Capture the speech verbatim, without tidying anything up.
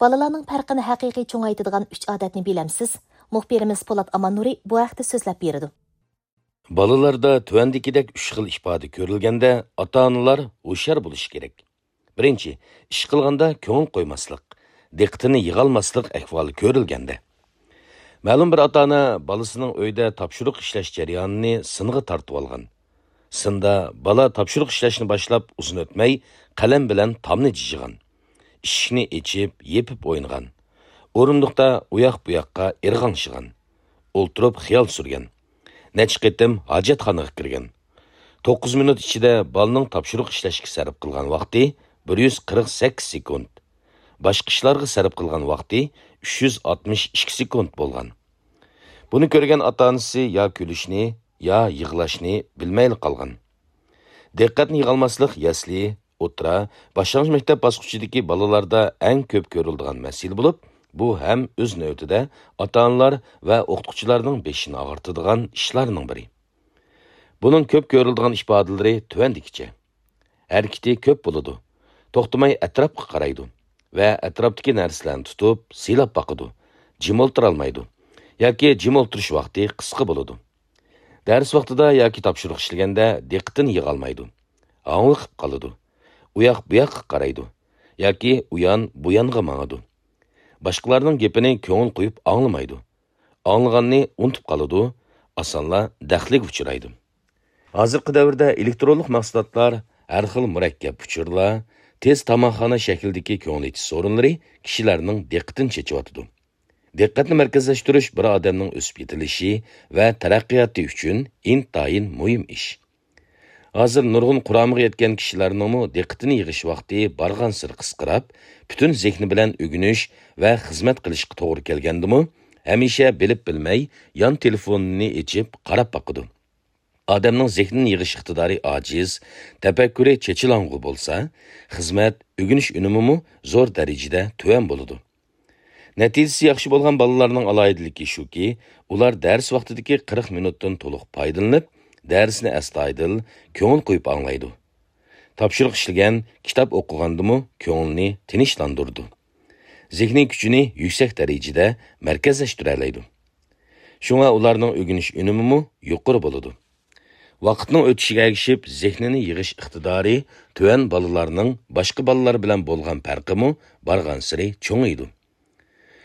بالىلارنىڭ پەرقىنى ھەقىقىي چوڭايتىدىغان ئۈچ ئادەتنى بىلەمسىز؟ مۇخبىرىمىز پولات ئاماننۇرى بۇ ھەقتە سۆزلەپ بېرىدۇ. بالىلاردا تۆۋەندىكىدەك ئۈچ خىل ئىپادە كۆرۈلگەندە، ئاتا-ئانىلار ھوشيار بولۇشى كېرەك. بىرىنچى، ئىش قىلغاندا كۆڭۈل قويماسلىق، دىققىتىنى يىغالماسلىق ئەھۋالى كۆرۈلگەندە. مەلۇم بىر ئاتا-ئانا بالىسىنىڭ ئۆيدە تاپشۇرۇق ئىشلەش جەريانىنى سىنغا تارتىۋالغان. سىندا بالا تاپشۇرۇق ئىشلەشنى باشلاپ ئۇزۇن ئۆتمەي قەلەم بىلەن تامنى جىجىغان. ئىشىكنى ئېچىپ، يېپىپ ئوينىغان. ئورۇندۇقتا ئۇياق-بۇياققا ئىرغاڭشىغان. ئولتۇرۇپ خىيال سۈرگەن. نەچچە قېتىم ھاجەتخانىغا كىرگەن. توققۇز مىنۇت ئىچىدە بالىنىڭ تاپشۇرۇق ئىشلەشكە سەرپ قىلغان ۋاقتى بىر يۈز قىرىق سەككىز سېكۇنت. باشقا ئىشلارغا سەرپ قىلغان ۋاقتى ئۈچ يۈز ئاتمىش ئىككى سېكۇنت بولغان. بۇنى كۆرگەن ئاتا-ئانىسى يا كۈلۈشنى، يا يىغلاشنى بىلمەيلا قالغان. دىققەتنى يىغالماسلىق يەسلى، ئوتتۇرا، باشلانغۇچ مەكتەپ باسقۇچىدىكى بالىلاردا ئەڭ كۆپ كۆرۈلىدىغان مەسىلە بولۇپ، بۇ ھەم ئۆز نۆۋىتىدە ئاتا-ئانىلار ۋە ئوقۇتقۇچىلارنىڭ بېشىنى ئاغرىتىدىغان ئىشلارنىڭ بىرى. بۇنىڭ كۆپ كۆرۈلىدىغان ئىپادىلىرى تۆۋەندىكىچە. ھەرىكىتى كۆپ بولىدۇ. توختىماي ئەتراپقا قارايدۇ ۋە ئەتراپتىكى نەرسىلەرنى تۇتۇپ، سىلاپ باقىدۇ. جىم ئولتۇرالمايدۇ ياكى جىم ئولتۇرۇش ۋاقتى قىسقا بولىدۇ. دەرس ۋاقتىدا ياكى تاپشۇرۇق ئىشلىگەندە دىققىتىنى يىغالمايدۇ. ھاڭۋېقىپ قالىدۇ. ئۇياق-بۇياققا قارايدۇ ياكى ئۇيان-بۇيانغا ماڭىدۇ. باشقىلارنىڭ گېپىنى كۆڭۈل قويۇپ ئاڭلىمايدۇ. ئاڭلىغاننى ئۇنتۇپ قالىدۇ، ئاسانلا دەخلىگە ئۇچرايدۇ. ھازىرقى دەۋردە ئېلېكترونلۇق مەھسۇلاتلار، ھەر خىل مۇرەككەپ ئۇچۇرلار، تېز تاماقخانا شەكلىدىكى كۆڭۈل ئېچىش سورۇنلىرى كىشىلەرنىڭ دىققىتىنى چېچىۋاتىدۇ. دىققەتنى مەركەزلەشتۈرۈش بىر ئادەمنىڭ ئۆسۈپ يېتىلىشى ۋە تەرەققىياتى ئۈچۈن ئىنتايىن مۇھىم ئىش. ھازىر نۇرغۇن قۇرامىغا يەتكەن كىشىلەرنىڭمۇ دىققىتىنى يىغىش ۋاقتى بارغانسېرى قىسقىراپ، پۈتۈن زېھنى بىلەن ئۆگىنىش ۋە خىزمەت قىلىشقا توغرا كەلگەندىمۇ، ھەمىشە بىلىپ بىلمەي يان تېلېفونىنى ئېچىپ قاراپ باقىدۇ. ئادەمنىڭ زېھنىنى يىغىش ئىقتىدارى ئاجىز، تەپەككۇرى چېچىلاڭغۇ بولسا، خىزمەت، ئۆگىنىش ئۈنۈمىمۇ زور دەرىجىدە تۆۋەن بولىدۇ. نەتىجىسى ياخشى بولغان بالىلارنىڭ ئالاھىدىلىكى شۇكى، ئۇلار دەرس ۋاقتىدىكى قىرىق مىنۇتتىن تولۇق پايدىلىنىپ، دەرسنى ئەستايىدىل، كۆڭۈل قويۇپ ئاڭلايدۇ. تاپشۇرۇق ئىشلىگەن، كىتاب ئوقۇغاندىمۇ كۆڭلىنى تىنچلاندۇرىدۇ. زېھنىي كۈچىنى يۈكسەك دەرىجىدە مەركەزلەشتۈرەلەيدۇ. شۇڭا ئۇلارنىڭ ئۆگىنىش ئۈنۈمىمۇ يۇقىرى بولىدۇ. ۋاقىتنىڭ ئۆتۈشىگە ئەگىشىپ زېھنىنى يىغىش ئىقتىدارى تۆۋەن بالىلارنىڭ باشقا بالىلار بىلەن بولغان پەرقىمۇ بارغانسېرى چوڭىيىدۇ.